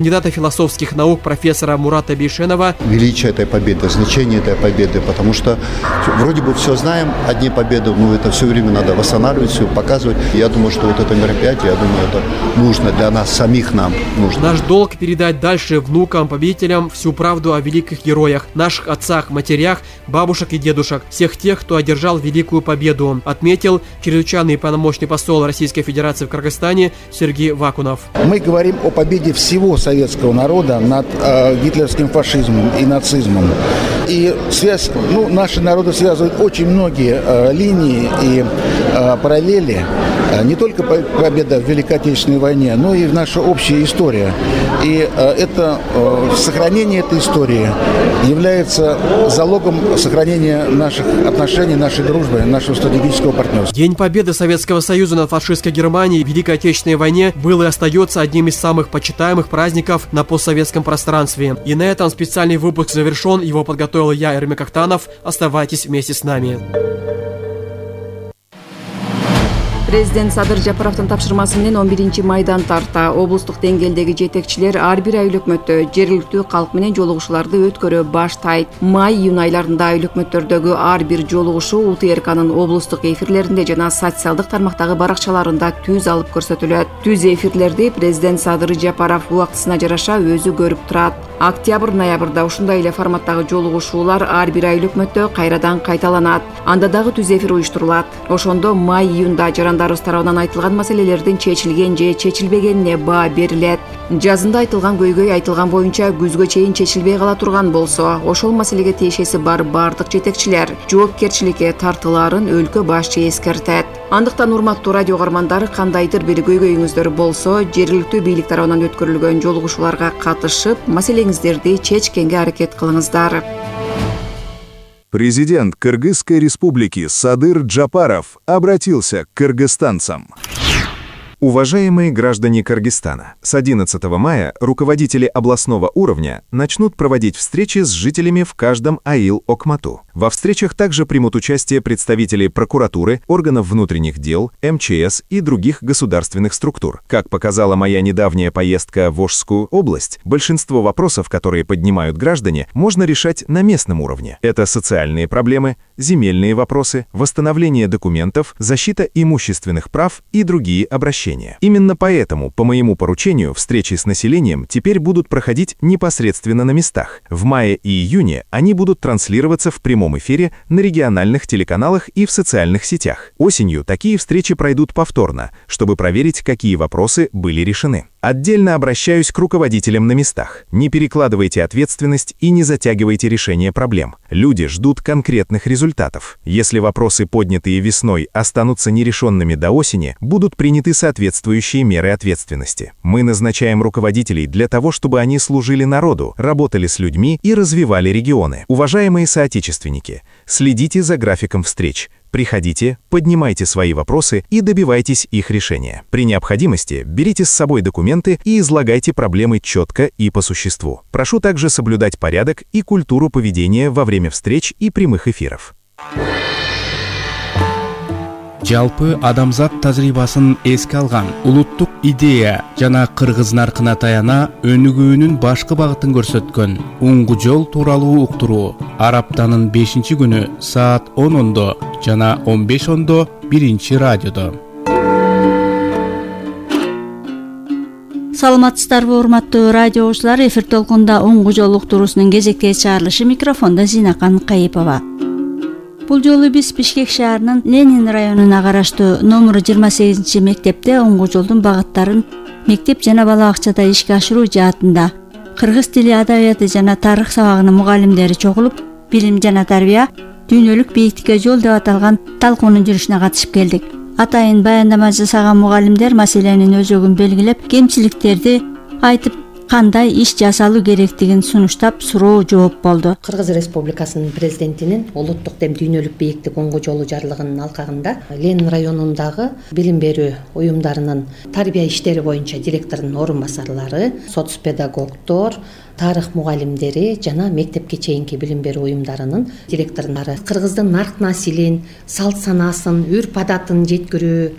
Кандидата философских наук профессора Мурата Бейшенова. Величие этой победы, значение этой победы, потому что вроде бы все знаем, одни победы, но это все время надо восстанавливать, все показывать. Я думаю, что вот это мероприятие, я думаю, это нужно для нас, самих нам нужно. Наш долг передать дальше внукам, победителям всю правду о великих героях, наших отцах, матерях, бабушек и дедушек, всех тех, кто одержал великую победу, отметил чрезвычайный полномочный посол Российской Федерации в Кыргызстане Сергей Вакунов. Мы говорим о победе всего советского народа над гитлеровским фашизмом и нацизмом. И связь, наши народы связывают очень многие линии и параллели. Не только победа в Великой Отечественной войне, но и наша общая история. И сохранение этой истории является залогом сохранения наших отношений, нашей дружбы, нашего стратегического партнерства. День победы Советского Союза над фашистской Германией в Великой Отечественной войне был и остается одним из самых почитаемых праздников на постсоветском пространстве. И на этом специальный выпуск завершен. Его подготовил я, Эрмек Ахтанов. Оставайтесь вместе с нами. Президент Садыр Жапаровдун тапшырмасы менен 11-майдан тарта облустук деңгээлдеги жетекчилер ар бир айыл өкмөттө жергиликтүү калк менен жолугушууларды өткөрө баштайт. Май-июнь айларында айыл өкмөттөрдөгү ар бир жолугушуу УТРКнын облустук эфирлеринде жана социалдык тармактагы баракчаларында түз алып көрсөтүлөт. Түз эфирлерди президент Садыр Жапаров убактысына жараша өзү көрүп турат. Октябрь-ноябрда ушундай эле форматтагы жолугушуулар ар бир айыл өкмөттө кайрадан кайталанат. Анда дагы түз эфир уюштурулат. Ошондо май-июнда жарандарыбыз тарабынан айтылган маселелердин чечилген же чечилбегенине баа берилет. Жазында айтылган көйгөй айтылган боюнча күзгө чейин чечилбей кала турган болсо, ошол маселеге тиешеси бар бардык жетекчилер жоопкерчиликке тартылаарын өлкө башчы эскертет. Андыктан урматтуу радио каармандар, кандайдыр бир көйгөйүңүздөр болсо, жергиликтүү бийлик тарабынан өткөрүлгөн жолугушууларга катышып, маселеңиздерди чечкенге аракет кылыңыздар. Президент Кыргызской республики Садыр Джапаров обратился к кыргызстанцам. Уважаемые граждане Кыргызстана, с 11 мая руководители областного уровня начнут проводить встречи с жителями в каждом аил Окмату. Во встречах также примут участие представители прокуратуры, органов внутренних дел, МЧС и других государственных структур. Как показала моя недавняя поездка в Ошскую область, большинство вопросов, которые поднимают граждане, можно решать на местном уровне. Это социальные проблемы, земельные вопросы, восстановление документов, защита имущественных прав и другие обращения. Именно поэтому, по моему поручению, встречи с населением теперь будут проходить непосредственно на местах. В мае и июне они будут транслироваться в прямом эфире на региональных телеканалах и в социальных сетях. Осенью такие встречи пройдут повторно, чтобы проверить, какие вопросы были решены. Отдельно обращаюсь к руководителям на местах. Не перекладывайте ответственность и не затягивайте решение проблем. Люди ждут конкретных результатов. Если вопросы, поднятые весной, останутся нерешенными до осени, будут приняты соответствующие меры ответственности. Мы назначаем руководителей для того, чтобы они служили народу, работали с людьми и развивали регионы. Уважаемые соотечественники, следите за графиком встреч. Приходите, поднимайте свои вопросы и добивайтесь их решения. При необходимости берите с собой документы и излагайте проблемы четко и по существу. Прошу также соблюдать порядок и культуру поведения во время встреч и прямых эфиров. Жалпы адамзат тажрыйбасын эске алган улуттук идея жана кыргыз наркына таяна өнүгүүнүн башкы багытын көрсөткөн уңгу жол тууралуу уктуруу ар аптанын 5-күнү саат 10:00 жана 15:00 биринчи радиодо. Саламатсыздарбы, урматтуу радио окуучулар, эфир толкунда уңгу жол уктуруусунун кезектеги чыгарылышы, микрофондо Зинакан Кайыпова. Бул жолу биз Бишкек шаарынын Ленин районуна караштуу номер 28 мектепте уңгу жолдун багыттарын мектеп жана бала бакчада ишке ашыруу жаатында кыргыз тили, адабияты жана тарых сабагынын мугалимдери чогулуп, билим жана тарбия дүйнөлүк бийиктикке жол деп аталган талкуунун жүрүшүнө катышып келдик. Атайын баяндама жасаган мугалимдер маселенин өзөгүн белгилеп, кемчиликтерди айтып, кандай иш жасалуу керектигин сунуштап, суроо жооп болду. Кыргыз Республикасынын президентинин улуттук дем дүйнөлүк бийиктик уңгу жолу жарлыгынын алкагында Ленин районундагы билим берүү уюмдарынын тарбия иштери боюнча директордун орун басарлары, соцпедагогдор, тарых мугалимдери жана мектепке чейинки билим берүү уюмдарынын директорлору кыргыздын нарк насилин, салт санаасын, үрп адатын жеткирүү.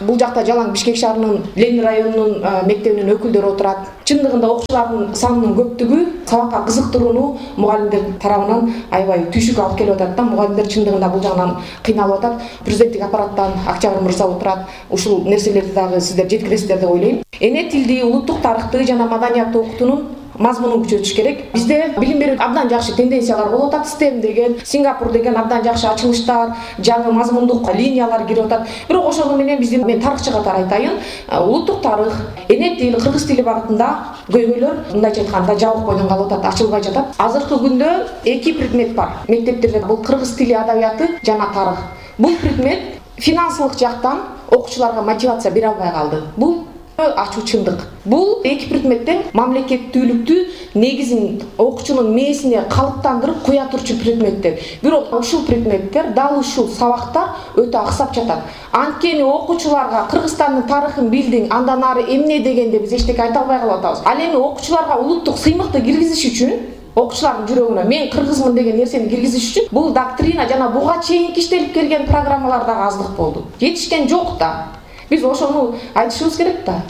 Бул жакта жалаң Бишкек шаарынын Ленин районунун мектебинин өкүлдөрү отурат. чындыгында окуучулардын санынын көптүгү сабакка кызыктырууну мугалимдер тарабынан аябай түйшүк алып келип атат да. Мугалимдер чындыгында бул жагынан кыйналып атат. Президенттик аппараттан Октябрь мырза отурат. Ушул нерселерди дагы сиздер жеткиресиздер деп ойлойм. Эне тилди, улуттук тарыхты жана маданиятты окутуунун мазмунун күчөтүш керек. Бизде билим берүү абдан жакшы тенденциялар болуп атат. STEM деген, Сингапур деген абдан жакшы ачылыштар, жаңы мазмундук линиялар кирип атат. Бирок ошону менен биздин мен тарыхчы катары айтайын, улуттук тарых, эне тил, кыргыз тили багытында көйгөйлөр мындайча айтканда жабык бойдон калып атат, ачылбай жатат. Азыркы күндө 2 предмет бар мектептерде. Бул кыргыз тили адабияты жана тарых. Бул предмет финансылык жактан окуучуларга мотивация бере албай калды. Бул ачуу чындык. Бул 2 предметтен мамлекеттүүлүктү негизин окуучунун мээсине калыптандырып куя турчу предметтер. Бирок ушул предметтер дал ушул сабактар өтө аксап жатат. Анткени окуучуларга Кыргызстандын тарыхын билдиң, андан ары эмне дегенде биз эчтеке айта албай калып атабыз. Ал эми окуучуларга улуттук сыймыкты киргизиш үчүн, окуучулардын жүрөгүнө мен кыргызмын деген нерсени киргизиш үчүн бул доктрина жана буга чейин иштелип келген программалар дагы аздык болду. Жетишкен жок да. Биз ошону айтышыбыз керек да.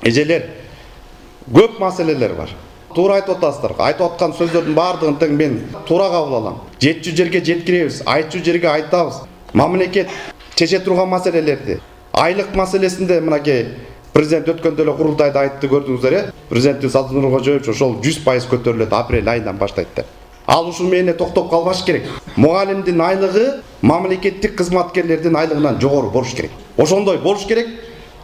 Эжелер, көп маселелер бар. Туура айтып атасыздар. Айтып аткан сөздөрдүн баардыгын тең мен туура кабыл алам. Жетчү жерге жеткиребиз, айтчу жерге айтабыз. Мамлекет чече турган маселелерди. Айлык маселесинде мынакей президент өткөндө эле курултайда айтты, көрдүңүздөр, э? Президентибиз Садыр Нуркожоевич ошол 100% көтөрүлөт, апрель айынан баштайт деп. Ал ушул менен токтоп калбаш керек. Мугалимдин айлыгы мамлекеттик кызматкерлердин айлыгынан жогору болуш керек. Ошондой болуш керек.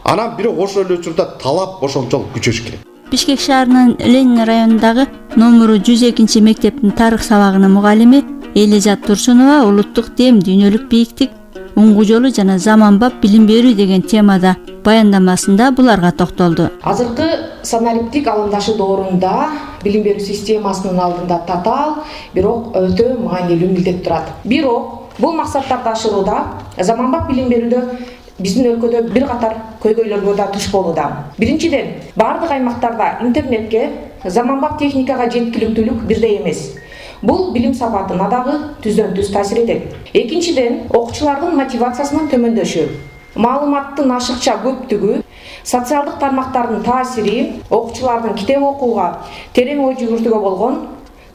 Анан бирок ошол эле учурда талап ошончолук күчөш керек. Бишкек шаарынын Ленин районундагы номуру 102 мектептин тарых сабагынын мугалими Элизат Турсунова улуттук дем, дүйнөлүк бийиктик, уңгу жолу жана заманбап билим берүү деген темада баяндамасында буларга токтолду. Азыркы санариптик алымдашы доорунда билим берүү системасынын алдында татаал, бирок өтө маанилүү милдет турат. Бирок бул максаттарды ашырууда заманбап билим берүүдө биздин өлкөдө бир катар көйгөйлөргө да туш болууда. Биринчиден, бардык аймактарда интернетке, заманбап техникага жеткиликтүүлүк бирдей эмес. Бул билим сапатына дагы түздөн-түз таасир этет. Экинчиден, окуучулардын мотивациясынын төмөндөшү, маалыматтын ашыкча көптүгү, социалдык тармактардын таасири окуучулардын китеп окууга, терең ой жүгүртүүгө болгон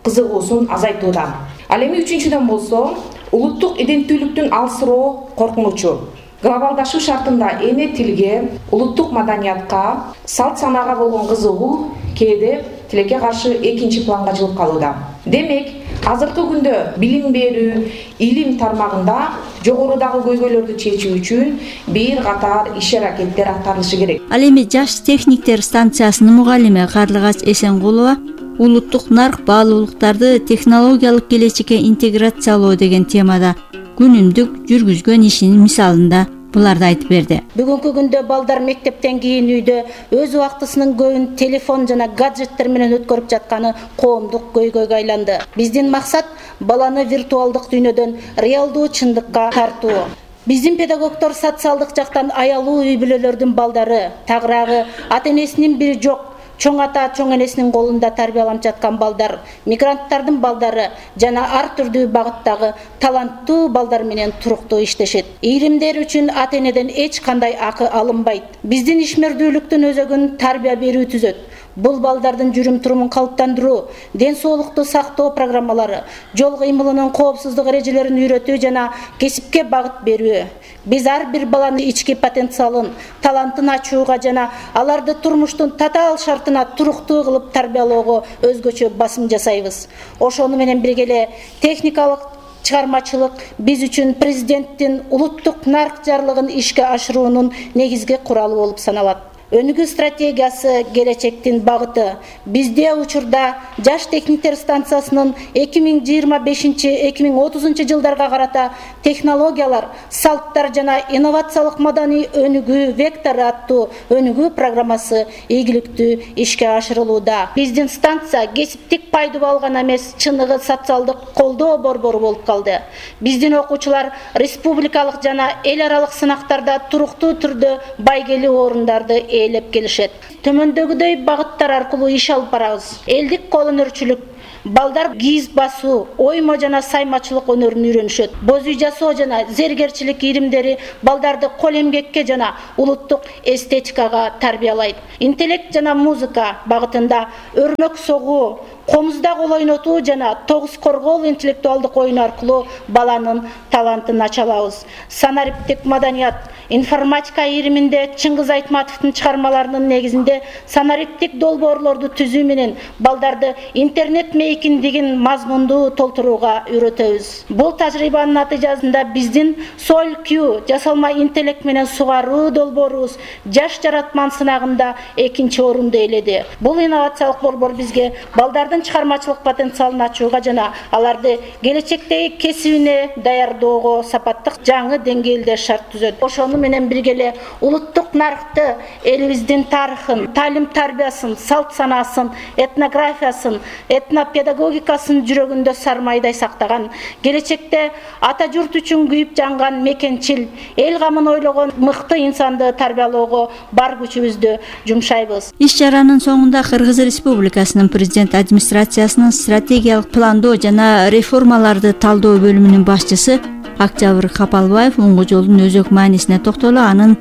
кызыгуусун азайтууда. Ал эми үчүнчүдөн болсо, улуттук иденттүүлүктүн алсыроо коркунучу. Глобалдашуу шартында эне тилге, улуттук маданиятка, салт санаага болгон кызыгуу кээде тилекке каршы экинчи планга жылып калууда. Демек, азыркы күндө билим берүү, илим тармагында жогорудагы көйгөйлөрдү чечүү үчүн бир катар иш-аракеттер аткарылышы керек. Ал эми жаш техниктер станциясынын мугалими Карлыгач Эсенгулова улуттук нарк баалуулуктарды технологиялык келечекке интеграциялоо деген темада күнүмдүк жүргүзгөн ишинин мисалында буларды айтып берди. Бүгүнкү күндө балдар мектептен кийин үйдө өз убактысынын көбүн телефон жана гаджеттер менен өткөрүп жатканы коомдук көйгөйгө айланды. Биздин максат баланы виртуалдык дүйнөдөн реалдуу чындыкка тартуу. Биздин педагогдор социалдык жактан аялуу үй бүлөлөрдүн балдары, тагыраагы ата-энесинин бири жок, чоң ата, чоң энесинин колунда тарбияланып жаткан балдар, мигранттардын балдары жана ар түрдүү багыттагы таланттуу балдар менен туруктуу иштешет. Ийримдер үчүн ата-энеден эч кандай акы алынбайт. Биздин ишмердүүлүктүн өзөгүн тарбия берүү түзөт. Бул балдардын жүрүм турумун калыптандыруу, ден соолукту сактоо программалары, жол кыймылынын коопсуздук эрежелерин үйрөтүү жана кесипке багыт берүү. Биз ар бир баланын ички потенциалын, талантын ачууга жана аларды турмуштун татаал шартына туруктуу кылып тарбиялоого өзгөчө басым жасайбыз. Ошону менен бирге эле техникалык чыгармачылык биз үчүн президенттин улуттук нарк жарлыгын ишке ашыруунун негизги куралы болуп саналат. Өнүгүү стратегиясы келечектин багыты. Бизде учурда жаш техниктер станциясынын 2025-2030 жылдарга карата технологиялар, салттар жана инновациялык маданий өнүгүү вектору аттуу өнүгүү программасы ийгиликтүү ишке ашырылууда. Биздин станция кесиптик пайдубал гана эмес, чыныгы социалдык колдоо борбору болуп калды. Биздин окуучулар республикалык жана эл аралык сынактарда туруктуу түрдө байгелүү орундарды ээлеп келишет. Төмөндөгүдөй багыттар аркылуу иш алып барабыз. Элдик кол өнөрчүлүк, Балдар кийиз басуу, оймо жана саймачылык өнөрүн үйрөнүшөт. Боз үй жасоо жана зергерчилик иримдери балдарды кол эмгекке жана улуттук эстетикага тарбиялайт. Интеллект жана музыка багытында өрмөк согуу, комузда кол ойнотуу жана тогуз коргоол интеллектуалдык оюн аркылуу баланын талантын ача алабыз. Санариптик маданият, информатика ириминде Чыңгыз Айтматовдун чыгармаларынын негизинде санариптик долбоорлорду түзүү менен балдарды интернет мейкиндигин мазмундуу толтурууга үйрөтөбүз. Бул тажрыйбанын натыйжасында биздин Soil-Q жасалма интеллект менен сугаруу долбоорубуз жаш жаратман сынагында 2-чи орунду ээледи. Бул инновациялык борбор бизге балдардын чыгармачылык потенциалын ачууга жана аларды келечектеги кесибине даярдоого сапаттык жаңы деңгээлде шарт түзөт. Ошону менен бирге эле улуттук нарыкты, элибиздин тарыхын, талим тарбиясын, салт санаасын, этнографиясын, этнопедагогикасын жүрөгүндө сармайдай сактаган, келечекте ата журт үчүн күйүп жанган мекенчил, эл камын ойлогон мыкты инсанды тарбиялоого бар күчүбүздү жумшайбыз. Иш-чаранын соңунда Кыргыз Республикасынын президент администрациясынын стратегиялык пландоо жана реформаларды талдоо бөлүмүнүн башчысы Октябрь Капалбаев уңгу жолдун өзөк маанисине токтолуп, анын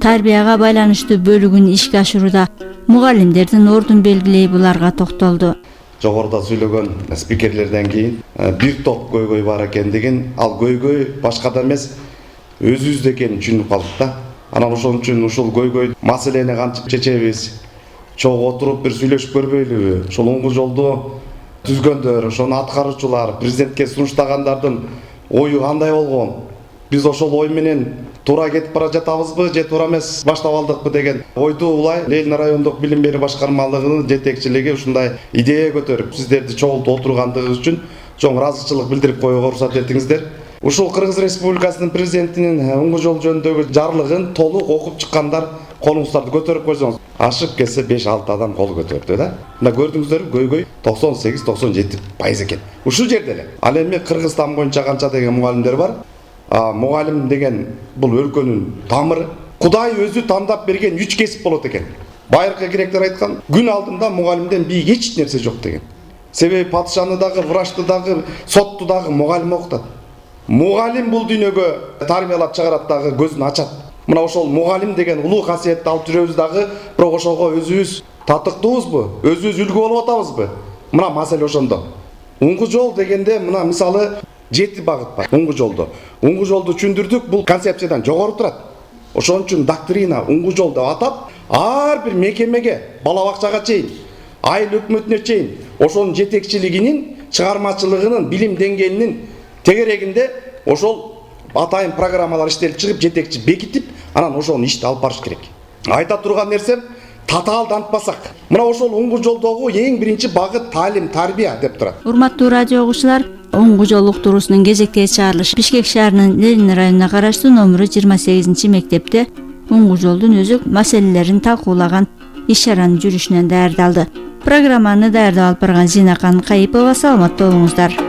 тарбияга байланыштуу бөлүгүн ишке ашырууда мугалимдердин ордун белгилей буларга токтолду. Жогоруда сүйлөгөн спикерлерден кийин бир топ көйгөй бар экендигин, ал көйгөй башкада эмес, өзүбүздө экенин түшүнүп калдык да. Анан ошон үчүн ушул көйгөй маселени кантип чечебиз? Чогуу отуруп бир сүйлөшүп көрбөйлүбү? Ошол уңгу жолду түзгөндөр, ошону аткаруучулар, президентке сунуштагандардын ою кандай болгон? Биз ошол ой менен туура кетип бара жатабызбы же туура эмес баштап алдыкпы деген ойду улай Ленин райондук билим берүү башкармалыгынын жетекчилиги ушундай идея көтөрүп сиздерди чогултуп отургандыгыбыз үчүн чоң ыраазычылык билдирип коюуга уруксат этиңиздер. Ушул Кыргыз Республикасынын президентинин уңгу жол жөнүндөгү жарлыгын толук окуп чыккандар колуңуздарды көтөрүп койсоңуз, ашып кетсе 5-6 адам кол көтөрдү да. Мына көрдүңүздөрбү, көйгөй 98-97% экен. Ушул жерде эле. Ал эми Кыргызстан боюнча канча деген мугалимдер бар? Мугалим деген бул өлкөнүн тамыры. Кудай өзү тандап берген 3 кесип болот экен. Байыркы керектер айткан, күн алдында мугалимден бийик эч нерсе жок деген. Себеби падышаны дагы, врачты дагы, сотту дагы мугалим окутат. Мугалим бул дүйнөгө тарбиялап чыгарат дагы, көзүн ачат. Мына ошол мугалим деген улуу касиетти алып жүрөбүз дагы, бирок ошого өзүбүз татыктуубузбу? Өзүбүз үлгү болуп атабызбы? Мына маселе ошондо. Уңгу жол дегенде мына мисалы 7 багыт бар уңгу жолдо. Уңгу жолду түшүндүрдүк, бул концепциядан жогору турат. Ошон үчүн доктрина уңгу жол деп атап, ар бир мекемеге, бала бакчага чейин, айыл өкмөтүнө чейин ошонун жетекчилигинин, чыгармачылыгынын, билим деңгээлинин тегерегинде ошол атайын программалар иштелип чыгып, жетекчи бекитип, анан ошону ишти алып барыш керек. Айта турган нерсем, татаалдантпасак, мына ошол уңгу жолдогу эң биринчи багыт таалим, тарбия деп турат. Урматтуу радио угуучулар, уңгу жол уктуруусунун кезектеги чыгарылышы Бишкек шаарынын Ленин районуна караштуу номеру 28 мектепте уңгу жолдун өзөк маселелерин талкуулаган иш-чаранын жүрүшүнөн даярдалды. Программаны даярдап алып барган Зинакан Кайыпова. Саламатта болуңуздар.